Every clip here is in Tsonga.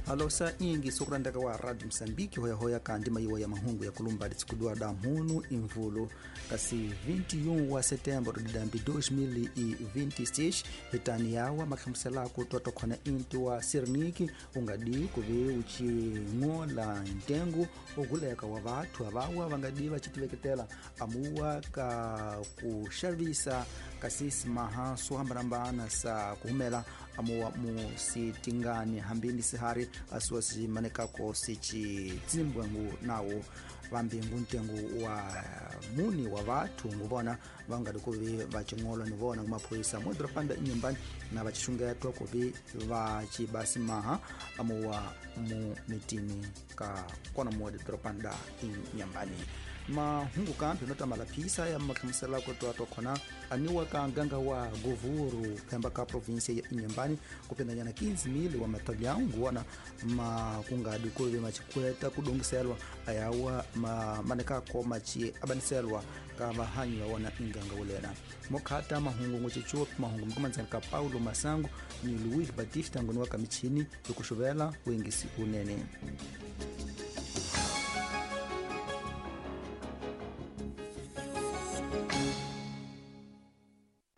Alosa ingi sokulandaka wa Radio Moçambique hoyahoya kandi maiwa ya mahungu ya kulumba litsikudwa da mhunu imvulu kasi 21 wa setembro de dambi 2026 hitani yawa makhamuselako twatokhona inti wa sirniki ungadi kuve uching'ola ntengo oguleka wa vathu avawa vangadi vacitiveketela amuwa ka kuxavisa kasi simaha swo hambanahambana sa kuhumela amuwa musitingani hambini sihari asiwa simanekako sicitsimbwangu nawo vambingu ntengo wa muni wa vathu nguvona vangadi kuvi vacing'olwa ni vona ngumaphoyisa modropanda inyumbani na vacixungetwa kuvi vacibasimaha amuwa mu mitini ka kona muwa didropanda inyambani. Mahungu kambi notamala phisa ya mahlamuselako twatokhona aniwa ka nganga wa govuru phemba ka provinsia ya inyambani kupendanyana 15,000 wa matalhão nguwona makungadi kuve macikweta kudongiselwa ayawa manekako maci abaniselwa ka vahanyi va wona inganga wulena mokhata mahungu ngocicupi mahungu mikumanzani ka Paulo Masango ni Luis Batista ngoni wa kamichini yokuxuvela wengisi unene.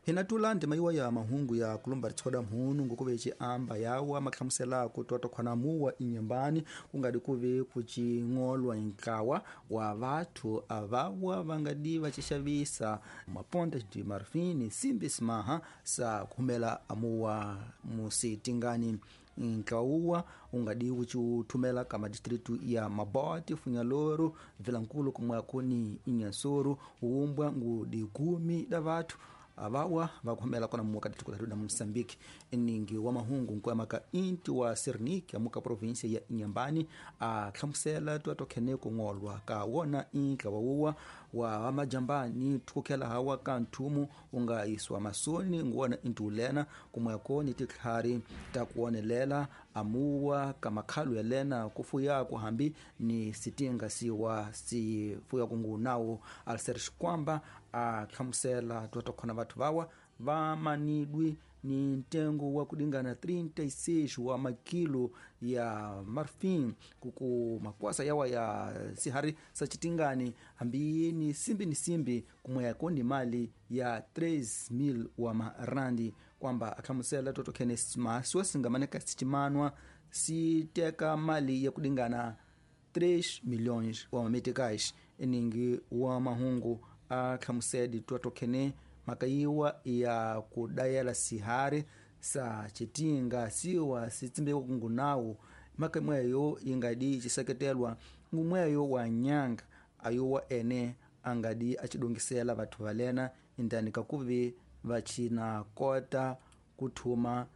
Hinatula ndima iwa ya mahungu ya kulumba ritsoda mhunu ngukuve ciamba yawa makhamuselako twatokhona muwa inyambani kungadi kuve kucing'olwa nkawa wa vathu avawa vangadi vacixavisa maponte de marfin simbi simaha sa kuhumela amuwa musitingani. Nkauwa ungadi ucuthumela ka madistritu ya Mabote, Funhalouro, Vilankulu kumwakuni Inhansoro, umbwa ngudi kumi da vathu avawa vakuhumela kona muka distrito da Moçambique. Eningi wa mahungu nkuamaka inti wa Serniki amuka província ya Inhambane a hlamusela twatokhene kung'olwa ka wona inka wawuwa wa majambani thukukhela hawa ka nthumu unga iswa masoni nguwona inti ulena kumweko ni titlhari ta kuwonelela amuwa ka makhalu yalena kufuya kuhambi ni sitinga siwa sifuya kungu nawo Alcer Xikwamba a hlamusela twatokhona vathu vawa va manidwi ni ntengo wa kudingana 36 wa makilo ya marfin kuku makwasa yawa ya sihari sa citingani hambi ni simbi ni simbi kumweko ni mali ya 3,000 wa marandi kwamba akhamusela totokhene masiwa singamaneka sicimanwa siteka mali ya kudingana 3 milhões wa mameticais. Eningi wa mahungu akhamusedi twatokhene makayiwa ya kudayela sihari sa citinga siwa sitsimbeko kungunawo maka imweyo ingadi ciseketelwa ngumweyo wa nyanga ayowa ene angadi acidongisela vathu valena indani kakuvi vacina kota kuthuma